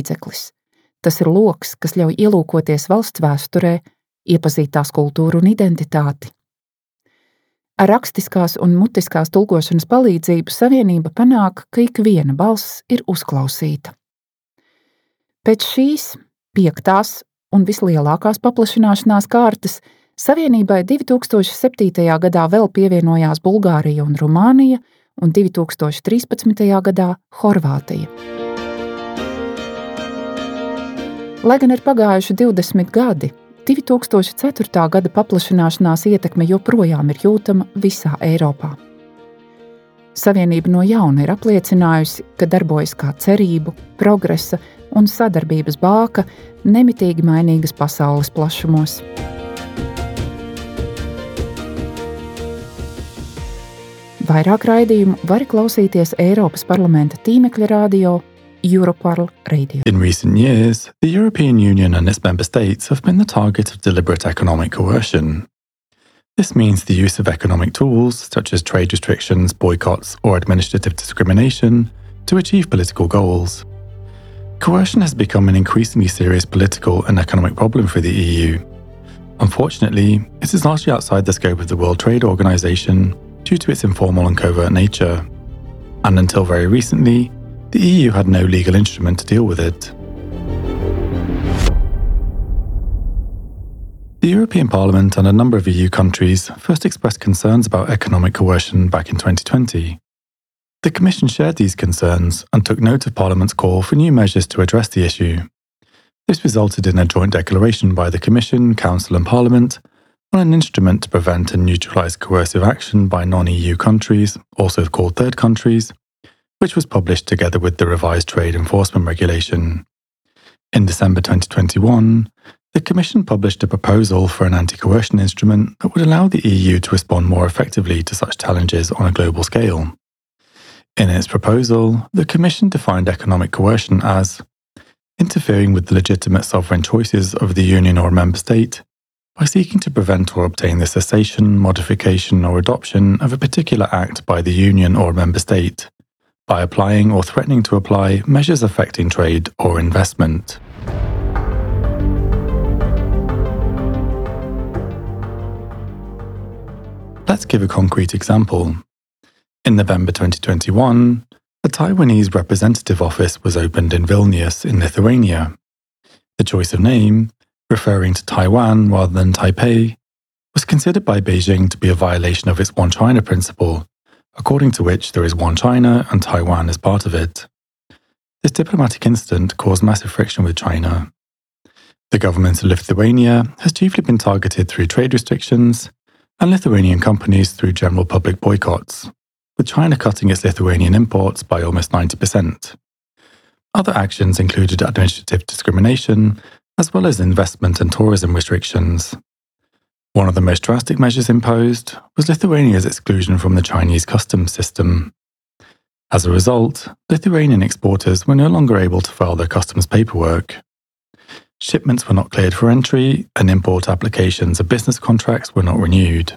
līdzeklis. Tas ir loks, kas ļauj ielūkoties valsts vēsturē, iepazīt tās kultūru un identitāti. Ar rakstiskās un mutiskās tulkošanas palīdzību Savienība panāk, ka ikviena balss ir uzklausīta. Pēc šīs piektās un vislielākās paplašināšanās kārtas Savienībai 2007. gadā vēl pievienojās Bulgārija un Rumānija, un 2013. gadā Horvātija. Lai gan ir pagājuši 20 gadi, 2004. gada paplašināšanās ietekme joprojām ir jūtama visā Eiropā. Savienība no jauna ir apliecinājusi, ka darbojas kā cerību, progresa un sadarbības bāka nemitīgi mainīgas pasaules plašumos. Vairāk raidījumu vari klausīties Eiropas parlamenta tīmekļa rādio Europarl Radio. In recent years, the European Union and its member states have been the target of deliberate economic coercion. This means the use of economic tools, such as trade restrictions, boycotts, or administrative discrimination, to achieve political goals. Coercion has become an increasingly serious political and economic problem for the EU. Unfortunately, it is largely outside the scope of the World Trade Organization due to its informal and covert nature. And until very recently, the EU had no legal instrument to deal with it. The European Parliament and a number of EU countries first expressed concerns about economic coercion back in 2020. The Commission shared these concerns and took note of Parliament's call for new measures to address the issue. This resulted in a joint declaration by the Commission, Council, and Parliament on an instrument to prevent and neutralise coercive action by non EU countries, also called third countries, which was published together with the revised Trade Enforcement Regulation. In December 2021, the Commission published a proposal for an anti coercion instrument that would allow the EU to respond more effectively to such challenges on a global scale. In its proposal, the Commission defined economic coercion as interfering with the legitimate sovereign choices of the Union or member state by seeking to prevent or obtain the cessation, modification, or adoption of a particular act by the Union or member state, by applying or threatening to apply measures affecting trade or investment. Let's give a concrete example. In November 2021, a Taiwanese representative office was opened in Vilnius in Lithuania. The choice of name, referring to Taiwan rather than Taipei, was considered by Beijing to be a violation of its One China principle, according to which there is one China and Taiwan is part of it. This diplomatic incident caused massive friction with China. The government of Lithuania has chiefly been targeted through trade restrictions and Lithuanian companies through general public boycotts, with China cutting its Lithuanian imports by almost 90%. Other actions included administrative discrimination, as well as investment and tourism restrictions. One of the most drastic measures imposed was Lithuania's exclusion from the Chinese customs system. As a result, Lithuanian exporters were no longer able to file their customs paperwork. Shipments were not cleared for entry, and import applications of business contracts were not renewed.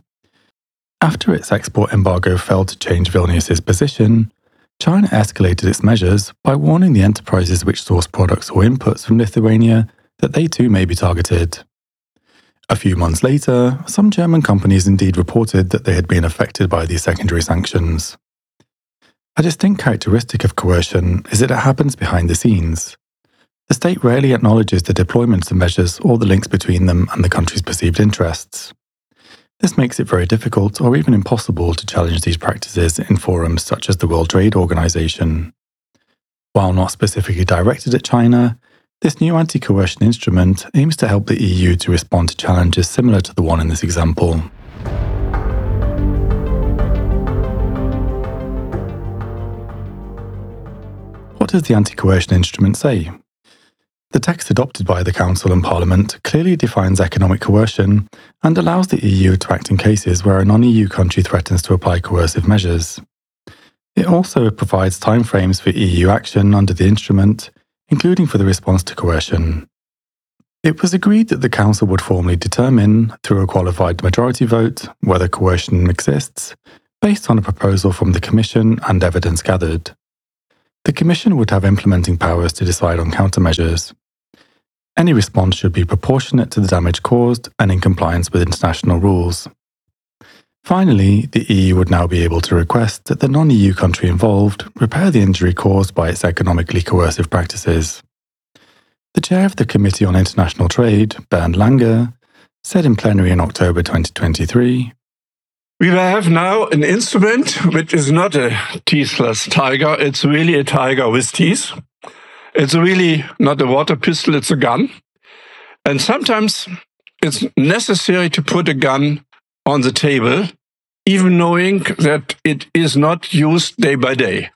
After its export embargo failed to change Vilnius's position, China escalated its measures by warning the enterprises which source products or inputs from Lithuania that they too may be targeted. A few months later, some German companies indeed reported that they had been affected by these secondary sanctions. A distinct characteristic of coercion is that it happens behind the scenes. The state rarely acknowledges the deployment of measures or the links between them and the country's perceived interests. This makes it very difficult or even impossible to challenge these practices in forums such as the World Trade Organization. While not specifically directed at China, this new anti coercion instrument aims to help the EU to respond to challenges similar to the one in this example. What does the anti coercion instrument say? The text adopted by the Council and Parliament clearly defines economic coercion and allows the EU to act in cases where a non EU country threatens to apply coercive measures. It also provides timeframes for EU action under the instrument, including for the response to coercion. It was agreed that the Council would formally determine, through a qualified majority vote, whether coercion exists, based on a proposal from the Commission and evidence gathered. The Commission would have implementing powers to decide on countermeasures. Any response should be proportionate to the damage caused and in compliance with international rules. Finally, the EU would now be able to request that the non EU country involved repair the injury caused by its economically coercive practices. The chair of the Committee on International Trade, Bernd Lange, said in plenary in October 2023 We have now an instrument which is not a teethless tiger, it's really a tiger with teeth. It's really not a water pistol, it's a gun. And sometimes it's necessary to put a gun on the table, even knowing that it is not used day by day.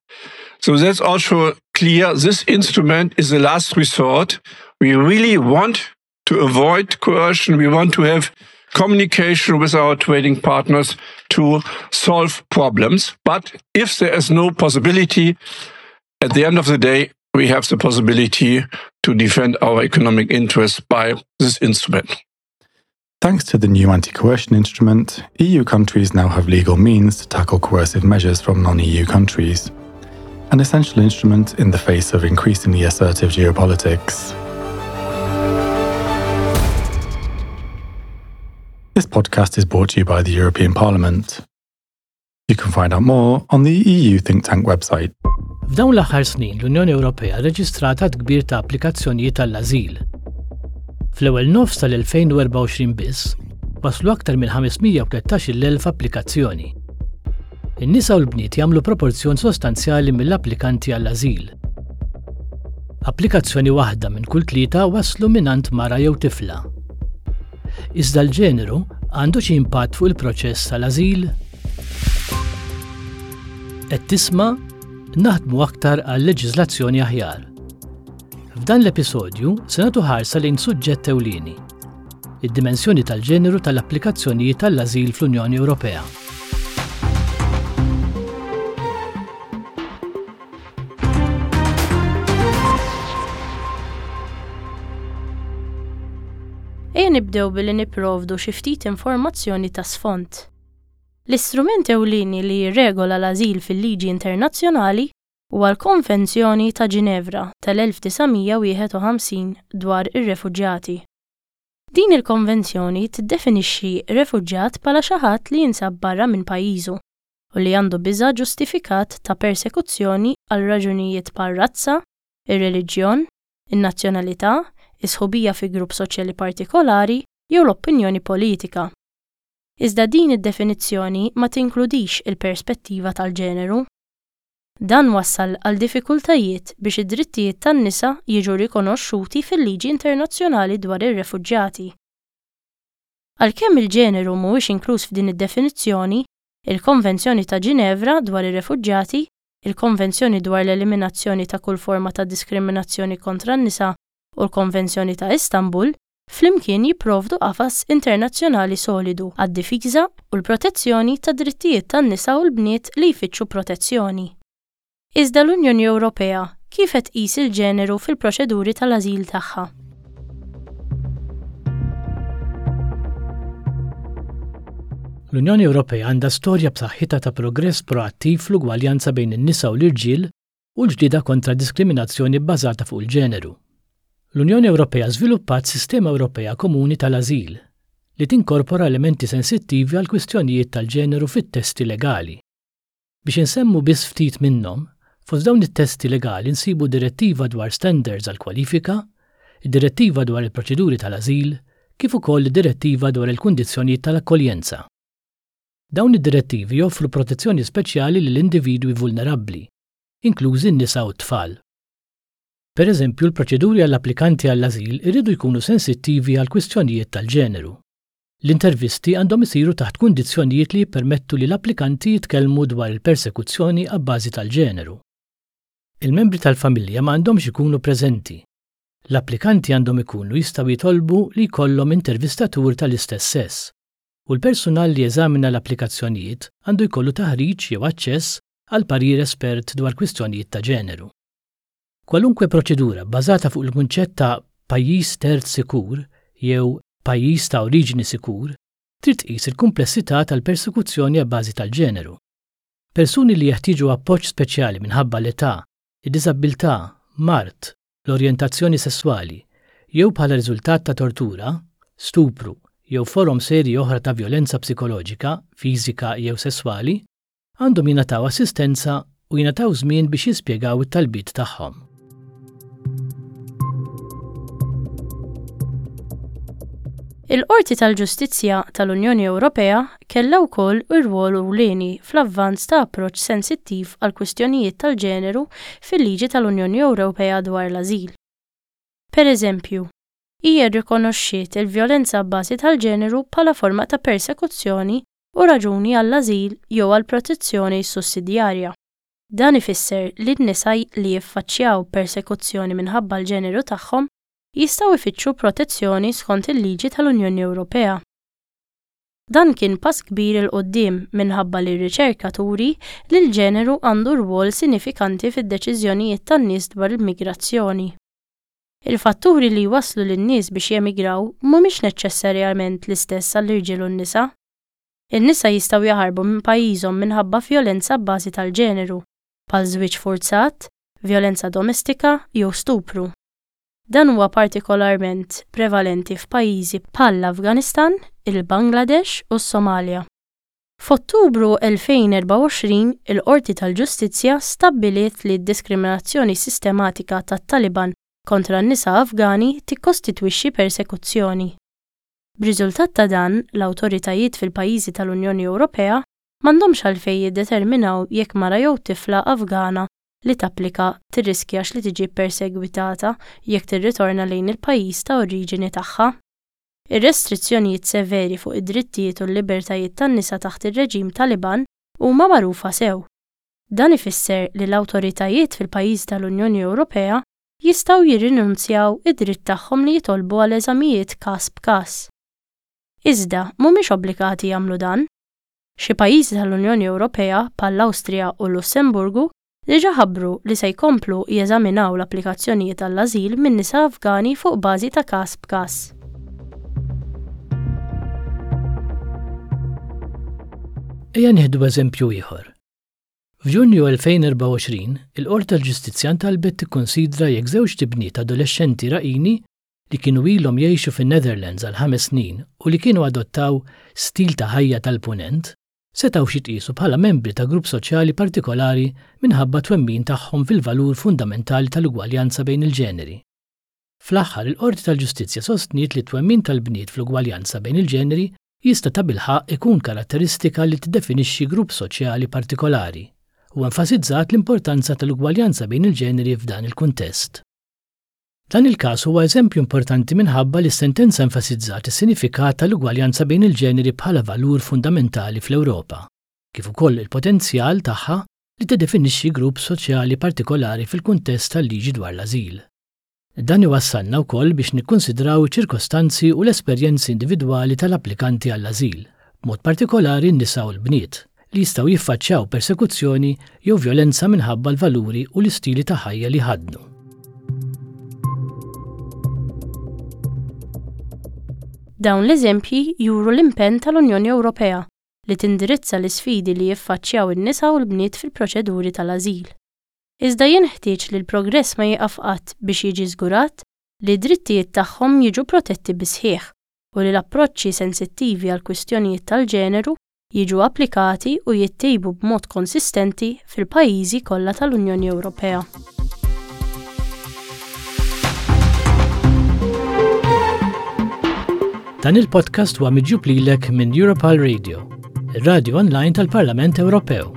So that's also clear. This instrument is the last resort. We really want to avoid coercion. We want to have communication with our trading partners to solve problems. But if there is no possibility, at the end of the day, we have the possibility to defend our economic interests by this instrument. Thanks to the new anti coercion instrument, EU countries now have legal means to tackle coercive measures from non EU countries, an essential instrument in the face of increasingly assertive geopolitics. This podcast is brought to you by the European Parliament. You can find out more on the EU Think Tank website. F'dawn l-aħħar snin l-Unjoni Ewropea rreġistrat għadd kbir ta' applikazzjonijiet għall-ażil. Fl-ewwel nofs tal-2024 biss, waslu aktar minn 513,000 applikazzjoni. In-nisa u l-bniet jagħmlu proporzjon sostanzjali mill-applikanti għall-ażil. Applikazzjoni waħda minn kull tlieta waslu mingħand mara jew tifla. Iżda l-ġeneru għandu xi impatt fuq il-proċess tal-ażil? Qed tisma' naħdmu aktar għal leġiżlazzjoni aħjar. F'dan l-episodju se nagħtu ħarsa lejn suġġett ewlieni, id-dimensjoni tal-ġeneru tal-applikazzjonijiet tal-ażil fl-Unjoni Ewropea. Ejja nibdew billi nipprovdu xi ftit informazzjoni ta' sfond. L-istrument ewlieni li jirregola l-ażil fil-liġi internazzjonali huwa l-Konvenzjoni ta' Ġinevra tal-1951 dwar ir-Refuġjati. Din il-konvenzjoni tiddefinixxi refuġjat bħala xi ħadd li jinsab barra minn pajjiżu u li għandu biża' ġustifikat ta' persekuzzjoni għal raġunijiet bħar-razza, ir-reliġjon, in-nazzjonalità, is-sħubija fi grupp soċjali partikolari jew l-opinjoni politika. Iżda din id-definizzjoni ma tinkludix il-perspettiva tal-ġeneru. Dan wassal għal diffikultajiet biex id-drittijiet tan-nisa jiġu rikonoxxuti fil-liġi internazzjonali dwar ir-refuġjati. Għalkemm il-ġeneru mhuwiex inkluż f'din id-definizzjoni, il-Konvenzjoni ta' Ġinevra dwar ir-Refuġjati, il-Konvenzjoni dwar l-Eliminazzjoni ta' kull forma ta' Diskriminazzjoni kontra n-Nisa u l-Konvenzjoni ta' Istanbul flimkien jipprovdu qafas internazzjonali solidu għad-difiża u l-protezzjoni tad-drittijiet tan-nisa u l-bniet li jfittxu protezzjoni. Iżda l-Unjoni Ewropea kif qed tqis il-ġeneru fil-proċeduri tal-ażil tagħha? L-Unjoni Ewropea għandha storja b'saħħitha ta' progress proattiv fl-ugwaljanza bejn in-nisa u l-irġiel u l-ġlieda kontra d-diskriminazzjoni bbażata fuq il-ġeneru. L-Unjoni Ewropea żviluppat sistema Ewropea komuni tal-ażil li tinkorpora elementi sensittivi għall-kwistjonijiet tal-ġeneru fit-testi legali. Biex insemmu biss ftit minnhom, fost dawn it-testi legali nsibu Direttiva dwar Standards għall-Kwalifika, id-Direttiva dwar il-Proċeduri tal-Ażil, kif ukoll id-Direttiva dwar il-Kundizzjonijiet tal-Akkoljenza. Dawn id-direttivi joffru protezzjoni speċjali lil individwi vulnerabbli, inklużi n-nisa u t-tfal. Pereżempju, l-proċeduri għall-applikanti għall-ażil iridu jkunu sensittivi għall-kwistjonijiet tal-ġeneru. L-intervisti għandhom isiru taħt kundizzjonijiet li jippermettu li l-applikanti jitkellmu dwar il-persekuzzjoni abbażi tal-ġeneru. Il-membri tal-familja ma għandhomx ikunu preżenti. L-applikanti għandhom ikunu jistgħu jitolbu li jkollhom intervistatur tal-istess sess, u l-persunal li jeżamina l-applikazzjonijiet għandu jkollu taħriġ jew aċċess għal parir espert dwar kwistjonijiet ta' ġeneru. Kwalunkwe proċedura bbażata fuq il-kunċett ta' pajjiż terz sikur jew pajjiż ta' oriġini sikur trid tqis il-kumplessità tal-persekuzzjoni abbażi tal-ġeneru. Persuni li jeħtieġu appoġġ speċjali minħabba l-età id-diżabbiltà, mard, l-orjentazzjoni sesswali, jew bħala riżultat ta' tortura, stupru jew forom serji oħra ta' vjolenza psikoloġika, fiżika jew sesswali, għandhom jingħataw assistenza u jingħataw żmien biex jispjegaw it-talbiet tagħhom. Il-Qorti tal-Ġustizzja tal-Unjoni Ewropea kellha wkoll irwol ewlieni fl-avvanz ta' approċċ sensittiv għall-kwistjonijiet tal-ġeneru fil-liġi tal-Unjoni Ewropea dwar l-ażil. Pereżempju, hija rrikonoxxiet il-vjolenza abbażi tal-ġeneru bħala forma ta' persekuzzjoni u raġuni għall-ażil jew għal protezzjoni sussidjarja. Dan ifisser li n-nisa li jiffaċċjaw persekuzzjoni minħabba l-ġeneru tagħhom jistgħu jfittxu protezzjoni skont il-liġi tal-Unjoni Ewropea. Dan kien pass kbir 'il quddiem minħabba li r-riċerka turi li l-ġeneru għandu rwol sinifikanti fid-deċiżjonijiet tan-nies dwar il-migrazzjoni. Il-fatturi li jwasslu lin-nies biex jemigraw mhumiex neċċessarjament l-istess għall-irġiel u n-nisa. In-nisa jistgħu jaħarbu minn pajjiżhom minħabba vjolenza abbażi tal-ġeneru, bħal żwieġ furzat, vjolenza domestika jew stupru. Dan huwa partikolarment prevalenti f'pajjiżi bħall-Afganistan, il-Bangladesh u s-Somalja. F'Ottubru 2024, il-Qorti tal-Ġustizzja stabbiliet li d-diskriminazzjoni sistematika tat-Taliban kontra n-nisa Afgani tikkostitwixxi persekuzzjoni. B'riżultat ta' dan, l-awtoritajiet fil-pajjiżi tal-Unjoni Ewropea m'għandhomx għalfejn jiddeterminaw jekk mara jew tifla Afgana li tapplika tirriskjax li tiġi ppersegwitata jekk tirritorna lejn il-pajjiż ta' oriġini tagħha. Ir-restrizzjonijiet severi fuq id-drittijiet u l-libertajiet tan-nisa taħt ir-reġim Taliban huma magħrufa sew. Dan ifisser li l-awtoritajiet fil-pajjiżi tal-Unjoni Ewropea jistgħu jirrinunzjaw id-dritt tagħhom li jitolbu għal eżamijiet każ b'każ. Iżda, mhumiex obbligati jagħmlu dan. Xi pajjiżi tal-Unjoni Ewropea, bħall-Awstrija u l-Lussemburgu, diġà ħabbru li se jkomplu jeżaminaw l-applikazzjonijiet għall-ażil minn nisa Afgani fuq bażi ta' każ b'każ. Ejja nieħdu eżempju ieħor. F'Ġunju 2024, il-Qorti tal-Ġustizzja ntalbet tikkunsidra jekk żewġt ibniet adolexxenti Iraqini li kienu ilhom jgħixu fin-Netherlands għal ħames snin u li kienu adottaw stil ta' ħajja tal-Punent, setgħux jitqiesu bħala membri ta' grupp soċjali partikolari minħabba t-twemmin tagħhom fil-valur fundamentali tal-ugwaljanza bejn il-ġeneri. Fl-aħħar, il-Qorti tal-Ġustizzja sostniet li t-twemmin tal-bniet fl-ugwaljanza bejn il-ġeneri jista' tabilħaqq ikun karatteristika li tiddefinixxi grupp soċjali partikolari, u enfasizzat l-importanza tal-ugwaljanza bejn il-ġeneri f'dan il-kuntest. Dan il-każ huwa eżempju importanti minħabba li s-sentenza enfasizzat is-sinifikat tal-ugwaljanza bejn il-ġeneri bħala valur fundamentali fl-Ewropa, kif ukoll il-potenzjal tagħha li tiddefinixxi grupp soċjali partikolari fil-kuntest tal-liġi dwar l-ażil. Dan iwassalna wkoll biex nikkunsidraw iċ-ċirkostanzi u l-esperjenzi individwali tal-applikanti għall-ażil, b'mod partikolari n-nisa u l-bniet, li jistgħu jiffaċċjaw persekuzzjoni jew vjolenza minħabba l-valuri u l-istili ta' ħajja li jħaddnu. Dawn l-eżempji juru l-impenn tal-Unjoni Ewropea li tindirizza l-isfidi li jiffaċċjaw in-nisa u l-bniet fil-proċeduri tal-ażil. Iżda jenħtieġ li l-progress ma jieqaf qatt biex jiġi żgurat li d-drittijiet tagħhom jiġu protetti bis-sħiħ u li l-approċċi sensittivi għall-kwistjonijiet tal-ġeneru jiġu applikati u jittejbu b'mod konsistenti fil-pajjiżi kollha tal-Unjoni Ewropea. Dan il-podcast huwa miġjub lilek minn Europal Radio, ir-radio online tal-Parlament Ewropew.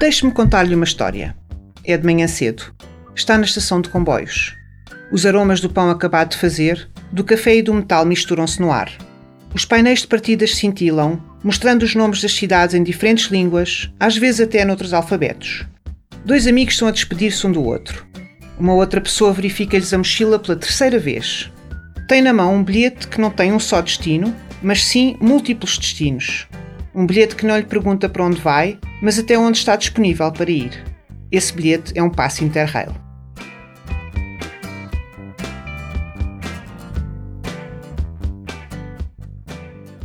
Deixe-me contar-lhe uma história. É de manhã cedo. Está na estação de comboios. Os aromas do pão acabado de fazer, do café e do metal misturam-se no ar. Os painéis de partidas cintilam, mostrando os nomes das cidades em diferentes línguas, às vezes até noutros alfabetos. Dois amigos estão a despedir-se um do outro. Uma outra pessoa verifica-lhes a mochila pela terceira vez. Tem na mão um bilhete que não tem um só destino, mas sim múltiplos destinos. Um bilhete que não lhe pergunta para onde vai, mas até onde está disponível para ir. Esse bilhete é um passe Interrail.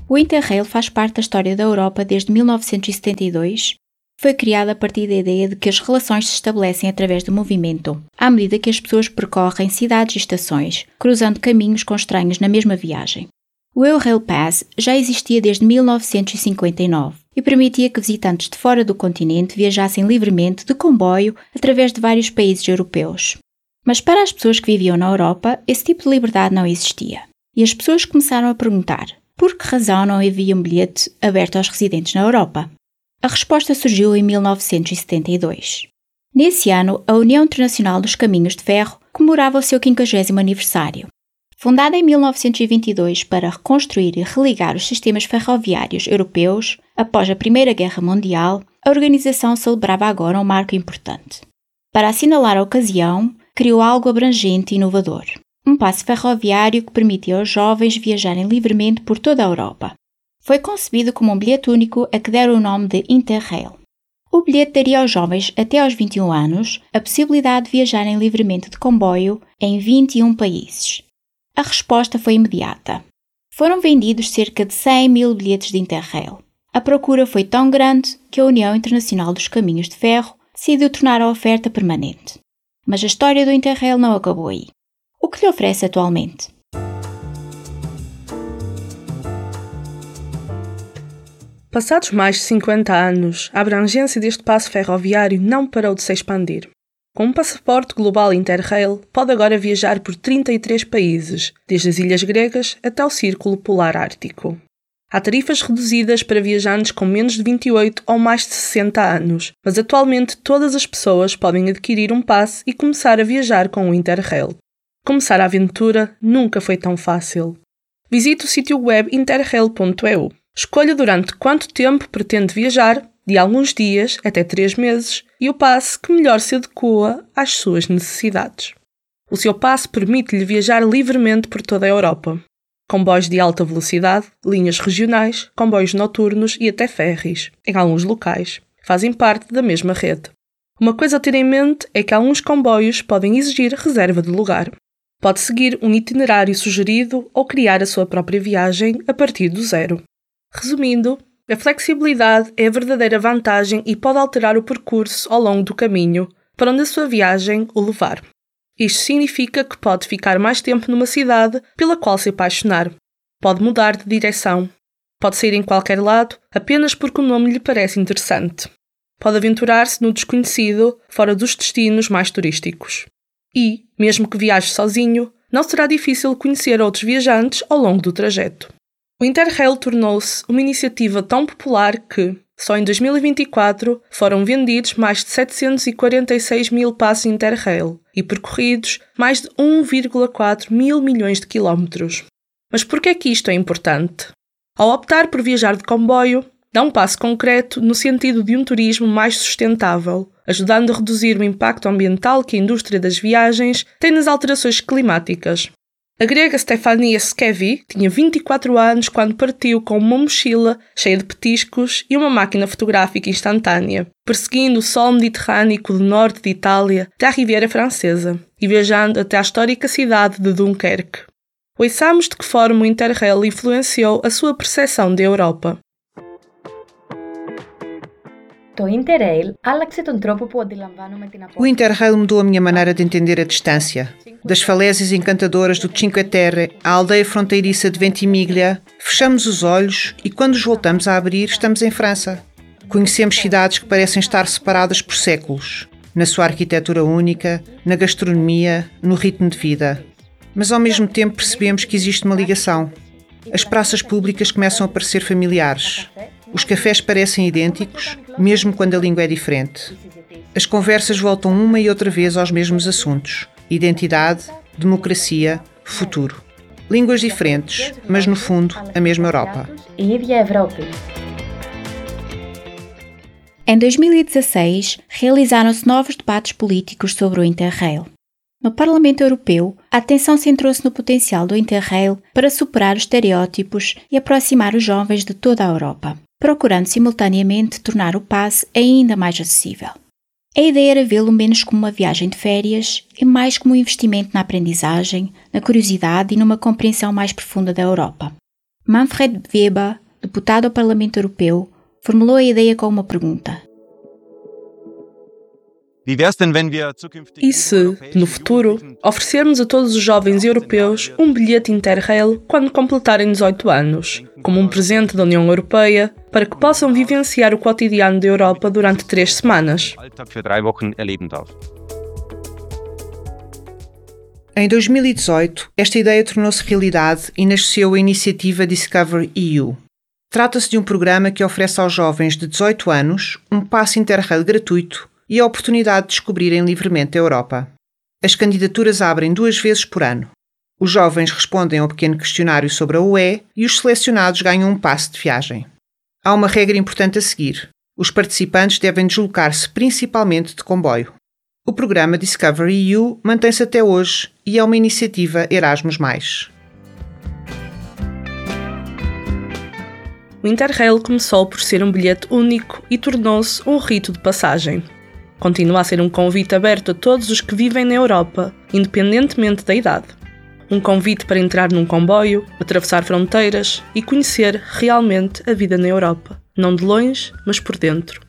O Interrail faz parte da história da Europa desde 1972. Foi criado a partir da ideia de que as relações se estabelecem através do movimento, à medida que as pessoas percorrem cidades e estações, cruzando caminhos com estranhos na mesma viagem. O Eurail Pass já existia desde 1959 e permitia que visitantes de fora do continente viajassem livremente de comboio através de vários países europeus. Mas para as pessoas que viviam na Europa, esse tipo de liberdade não existia. E as pessoas começaram a perguntar: por que razão não havia um bilhete aberto aos residentes na Europa? A resposta surgiu em 1972. Nesse ano, a União Internacional dos Caminhos de Ferro comemorava o seu 50 aniversário. Fundada em 1922 para reconstruir e religar os sistemas ferroviários europeus após a Primeira Guerra Mundial, a organização celebrava agora um marco importante. Para assinalar a ocasião, criou algo abrangente e inovador: um passe ferroviário que permitia aos jovens viajarem livremente por toda a Europa. Foi concebido como um bilhete único a que deram o nome de Interrail. O bilhete daria aos jovens até aos 21 anos a possibilidade de viajarem livremente de comboio em 21 países. A resposta foi imediata. Foram vendidos cerca de 100 mil bilhetes de Interrail. A procura foi tão grande que a União Internacional dos Caminhos de Ferro decidiu tornar a oferta permanente. Mas a história do Interrail não acabou aí. O que lhe oferece atualmente? Passados mais de 50 anos, a abrangência deste passo ferroviário não parou de se expandir. Com um passaporte global Interrail, pode agora viajar por 33 países, desde as ilhas gregas até o Círculo Polar Ártico. Há tarifas reduzidas para viajantes com menos de 28 ou mais de 60 anos, mas atualmente todas as pessoas podem adquirir um passe e começar a viajar com o Interrail. Começar a aventura nunca foi tão fácil. Visite o sítio web interrail.eu. Escolha durante quanto tempo pretende viajar, de alguns dias até 3 meses, e o passe que melhor se adequa às suas necessidades. O seu passe permite-lhe viajar livremente por toda a Europa. Comboios de alta velocidade, linhas regionais, comboios noturnos e até ferries, em alguns locais, fazem parte da mesma rede. Uma coisa a ter em mente é que alguns comboios podem exigir reserva de lugar. Pode seguir um itinerário sugerido ou criar a sua própria viagem a partir do zero. Resumindo, a flexibilidade é a verdadeira vantagem e pode alterar o percurso ao longo do caminho, para onde a sua viagem o levar. Isto significa que pode ficar mais tempo numa cidade pela qual se apaixonar. Pode mudar de direção. Pode sair em qualquer lado apenas porque o nome lhe parece interessante. Pode aventurar-se no desconhecido, fora dos destinos mais turísticos. E, mesmo que viaje sozinho, não será difícil conhecer outros viajantes ao longo do trajeto. O Interrail tornou-se uma iniciativa tão popular que, só em 2024, foram vendidos mais de 746 mil passes Interrail e percorridos mais de 1,4 mil milhões de quilómetros. Mas por que é que isto é importante? Ao optar por viajar de comboio, dá um passo concreto no sentido de um turismo mais sustentável, ajudando a reduzir o impacto ambiental que a indústria das viagens tem nas alterações climáticas. A grega Stefania Skevi tinha 24 anos quando partiu com uma mochila cheia de petiscos e uma máquina fotográfica instantânea, perseguindo o sol mediterrâneo do norte de Itália até à Riviera Francesa e viajando até à histórica cidade de Dunkerque. Ouçamos de que forma o Interrail influenciou a sua percepção da Europa. O Interrail mudou a minha maneira de entender a distância. Das falésias encantadoras do Cinque Terre à aldeia fronteiriça de Ventimiglia, fechamos os olhos e quando os voltamos a abrir, estamos em França. Conhecemos cidades que parecem estar separadas por séculos, na sua arquitetura única, na gastronomia, no ritmo de vida. Mas ao mesmo tempo percebemos que existe uma ligação. As praças públicas começam a parecer familiares. Os cafés parecem idênticos, mesmo quando a língua é diferente. As conversas voltam uma e outra vez aos mesmos assuntos: identidade, democracia, futuro. Línguas diferentes, mas no fundo a mesma Europa. Em 2016, realizaram-se novos debates políticos sobre o Interrail. No Parlamento Europeu, a atenção centrou-se no potencial do Interrail para superar os estereótipos e aproximar os jovens de toda a Europa, procurando simultaneamente tornar o passe ainda mais acessível. A ideia era vê-lo menos como uma viagem de férias e mais como um investimento na aprendizagem, na curiosidade e numa compreensão mais profunda da Europa. Manfred Weber, deputado ao Parlamento Europeu, formulou a ideia com uma pergunta. E se, no futuro, oferecermos a todos os jovens europeus um bilhete Interrail quando completarem 18 anos, como um presente da União Europeia, para que possam vivenciar o cotidiano da Europa durante 3 semanas? Em 2018, esta ideia tornou-se realidade e nasceu a iniciativa Discover EU. Trata-se de um programa que oferece aos jovens de 18 anos um passe Interrail gratuito e a oportunidade de descobrirem livremente a Europa. As candidaturas abrem 2 vezes por ano. Os jovens respondem ao pequeno questionário sobre a UE e os selecionados ganham um passe de viagem. Há uma regra importante a seguir. Os participantes devem deslocar-se principalmente de comboio. O programa Discover EU mantém-se até hoje e é uma iniciativa Erasmus+. O Interrail começou por ser um bilhete único e tornou-se um rito de passagem. Continua a ser um convite aberto a todos os que vivem na Europa, independentemente da idade. Um convite para entrar num comboio, atravessar fronteiras e conhecer realmente a vida na Europa. Não de longe, mas por dentro.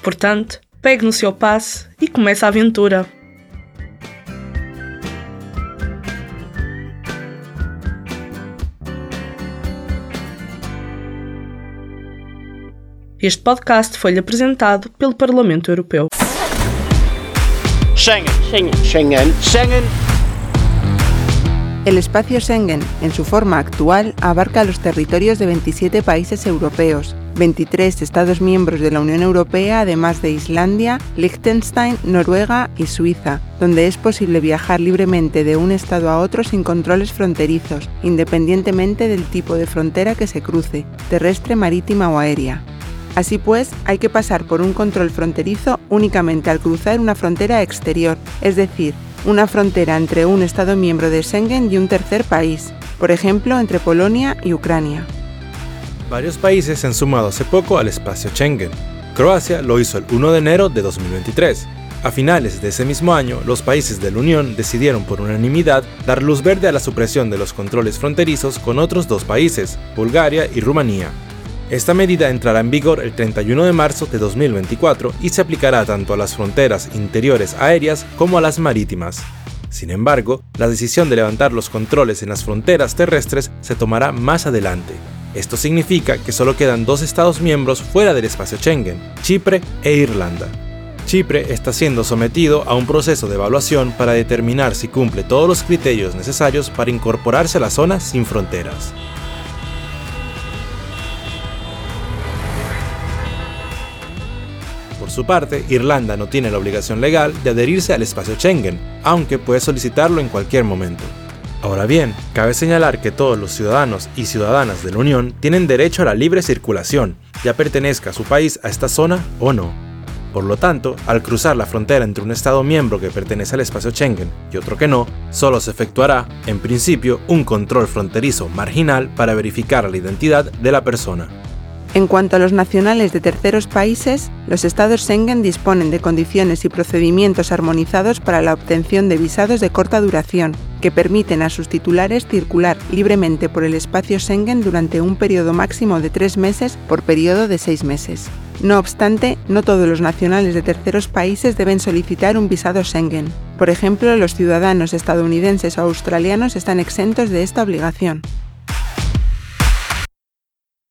Portanto, pegue no seu passe e comece a aventura. Este podcast foi-lhe apresentado pelo Parlamento Europeu. Schengen. Schengen. Schengen. Schengen. El espacio Schengen, en su forma actual, abarca los territorios de 27 países europeos, 23 Estados miembros de la Unión Europea, además de Islandia, Liechtenstein, Noruega y Suiza, donde es posible viajar libremente de un estado a otro sin controles fronterizos, independientemente del tipo de frontera que se cruce, terrestre, marítima o aérea. Así pues, hay que pasar por un control fronterizo únicamente al cruzar una frontera exterior, es decir, una frontera entre un Estado miembro de Schengen y un tercer país, por ejemplo, entre Polonia y Ucrania. Varios países se han sumado hace poco al espacio Schengen. Croacia lo hizo el 1 de enero de 2023. A finales de ese mismo año, los países de la Unión decidieron por unanimidad dar luz verde a la supresión de los controles fronterizos con otros 2 países, Bulgaria y Rumanía. Esta medida entrará en vigor el 31 de marzo de 2024 y se aplicará tanto a las fronteras interiores aéreas como a las marítimas. Sin embargo, la decisión de levantar los controles en las fronteras terrestres se tomará más adelante. Esto significa que solo quedan 2 estados miembros fuera del espacio Schengen, Chipre e Irlanda. Chipre está siendo sometido a un proceso de evaluación para determinar si cumple todos los criterios necesarios para incorporarse a la zona sin fronteras. Por su parte, Irlanda no tiene la obligación legal de adherirse al espacio Schengen, aunque puede solicitarlo en cualquier momento. Ahora bien, cabe señalar que todos los ciudadanos y ciudadanas de la Unión tienen derecho a la libre circulación, ya pertenezca su país a esta zona o no. Por lo tanto, al cruzar la frontera entre un Estado miembro que pertenece al espacio Schengen y otro que no, solo se efectuará, en principio, un control fronterizo marginal para verificar la identidad de la persona. En cuanto a los nacionales de terceros países, los estados Schengen disponen de condiciones y procedimientos armonizados para la obtención de visados de corta duración, que permiten a sus titulares circular libremente por el espacio Schengen durante un periodo máximo de 3 meses por periodo de 6 meses. No obstante, no todos los nacionales de terceros países deben solicitar un visado Schengen. Por ejemplo, los ciudadanos estadounidenses o australianos están exentos de esta obligación.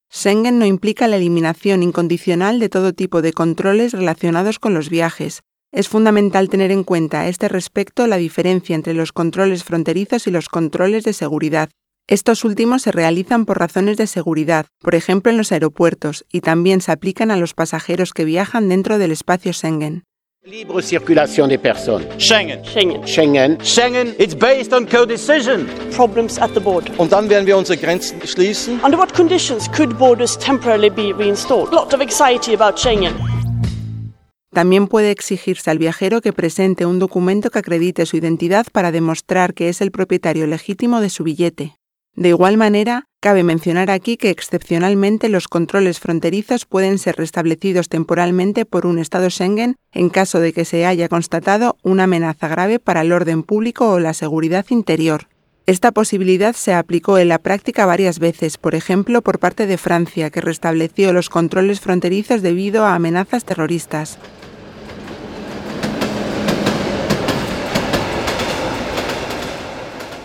Schengen no implica la eliminación incondicional de todo tipo de controles relacionados con los viajes. Es fundamental tener en cuenta a este respecto la diferencia entre los controles fronterizos y los controles de seguridad. Estos últimos se realizan por razones de seguridad, por ejemplo en los aeropuertos, y también se aplican a los pasajeros que viajan dentro del espacio Schengen. Libre circulación de personas. Schengen. Schengen. Schengen. Schengen. It's based on co-decision. Problems at the border. Und dann werden wir unsere Grenzen schließen. Under what conditions could borders temporarily be reinstalled? A lot of anxiety about Schengen. También puede exigirse al viajero que presente un documento que acredite su identidad para demostrar que es el propietario legítimo de su billete. De igual manera, cabe mencionar aquí que excepcionalmente los controles fronterizos pueden ser restablecidos temporalmente por un Estado Schengen en caso de que se haya constatado una amenaza grave para el orden público o la seguridad interior. Esta posibilidad se aplicó en la práctica varias veces, por ejemplo, por parte de Francia, que restableció los controles fronterizos debido a amenazas terroristas.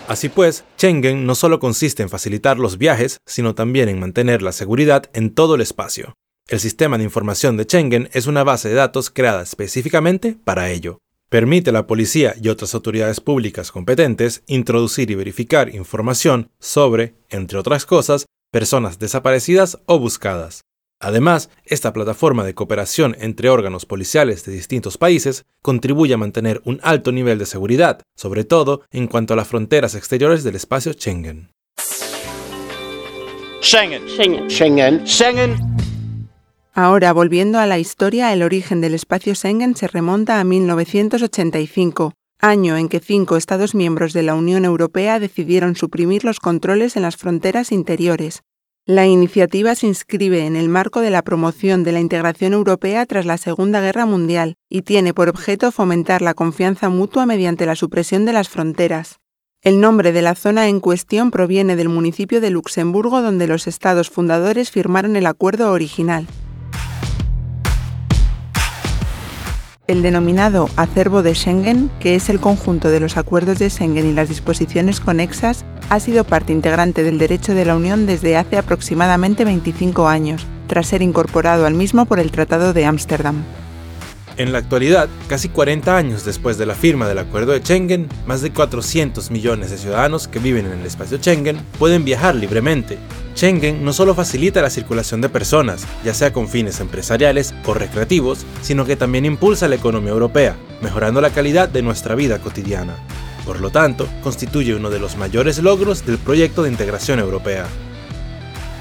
Así pues, Schengen no solo consiste en facilitar los viajes, sino también en mantener la seguridad en todo el espacio. El sistema de información de Schengen es una base de datos creada específicamente para ello. Permite a la policía y otras autoridades públicas competentes introducir y verificar información sobre, entre otras cosas, personas desaparecidas o buscadas. Además, esta plataforma de cooperación entre órganos policiales de distintos países contribuye a mantener un alto nivel de seguridad, sobre todo en cuanto a las fronteras exteriores del espacio Schengen. Schengen. Schengen. Schengen. Schengen. Ahora, volviendo a la historia, el origen del espacio Schengen se remonta a 1985, año en que cinco Estados miembros de la Unión Europea decidieron suprimir los controles en las fronteras interiores. La iniciativa se inscribe en el marco de la promoción de la integración europea tras la Segunda Guerra Mundial y tiene por objeto fomentar la confianza mutua mediante la supresión de las fronteras. El nombre de la zona en cuestión proviene del municipio de Luxemburgo donde los estados fundadores firmaron el acuerdo original. El denominado acervo de Schengen, que es el conjunto de los acuerdos de Schengen y las disposiciones conexas, ha sido parte integrante del derecho de la Unión desde hace aproximadamente 25 años, tras ser incorporado al mismo por el Tratado de Ámsterdam. En la actualidad, casi 40 años después de la firma del Acuerdo de Schengen, más de 400 millones de ciudadanos que viven en el espacio Schengen pueden viajar libremente. Schengen no solo facilita la circulación de personas, ya sea con fines empresariales o recreativos, sino que también impulsa la economía europea, mejorando la calidad de nuestra vida cotidiana. Por lo tanto, constituye uno de los mayores logros del proyecto de integración europea.